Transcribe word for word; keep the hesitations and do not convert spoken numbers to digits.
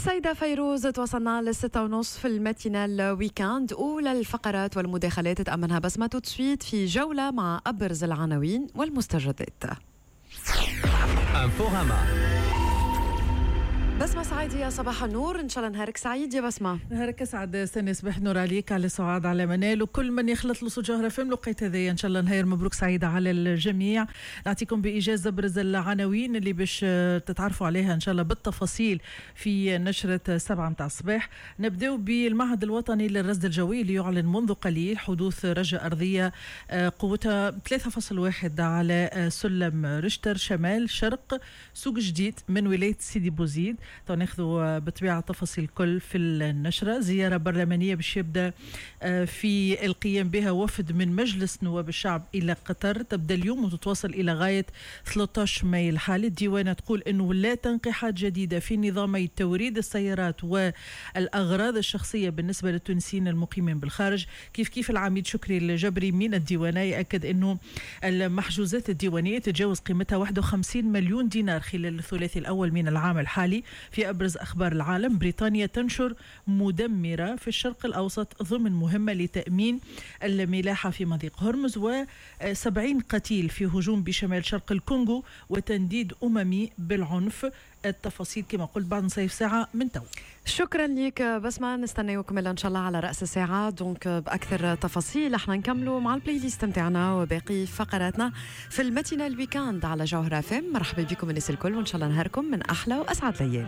السيدة فيروز. توصلنا للستة ونص في ال matinale week-end. أولى الفقرات والمداخلات تأمنها بسمة tout de suite في جولة مع أبرز العناوين والمستجدات. انفوراما. بسمة سعيدية، صباح النور، إن شاء الله نهارك سعيد يا بسمة. نهارك اسعد سنة، صباح النور عليك، على سعاد، على منال وكل من يخلط له جوهرة فم الوقيت هذايا. ان شاء الله نهار مبروك سعيد على الجميع. نعطيكم بايجاز ابرز العناوين اللي باش تتعرفوا عليها ان شاء الله بالتفاصيل في نشرة سبعة متاع الصباح. نبداو بالمعهد الوطني للرصد الجوي اللي يعلن منذ قليل حدوث رجة أرضية آه، قوتها ثلاثة فاصل واحد على آه، سلم رشتر شمال شرق سوق جديد من ولاية سيدي بوزيد. ناخذوا بالطبيعة تفاصيل الكل في النشرة. زيارة برلمانية باش يبدأ آه، في القيام بها وفد من مجلس نواب الشعب إلى قطر، تبدأ اليوم وتتواصل إلى غاية ثلاثة عشر ماي الحالي. الديوانة تقول أنه لا تنقيحات جديدة في نظامي توريد السيارات والأغراض الشخصية بالنسبة للتونسيين المقيمين بالخارج. كيف كيف العميد شكري الجبري من الديوانة يأكد أنه المحجوزات الديوانية تتجاوز قيمتها واحد وخمسين مليون دينار خلال الثلاثي الأول من العام الحالي. في أبرز أخبار العالم، بريطانيا تنشر مدمرة في الشرق الأوسط ضمن مهمة لتأمين الملاحة في مضيق هرمز، وسبعين قتيل في هجوم بشمال شرق الكونغو، وتنديد أممي بالعنف. التفاصيل كما قلت بعد نصف ساعة من تو. شكرا لك بسمة، نستناوكم ان شاء الله على راس الساعة donc باكثر تفاصيل. احنا نكملوا مع ال playlist نتاعنا وباقي فقراتنا في ال matinale week-end على جوهرة فم. مرحبا بكم الناس الكل، وان شاء الله نهاركم من احلى واسعد الايام.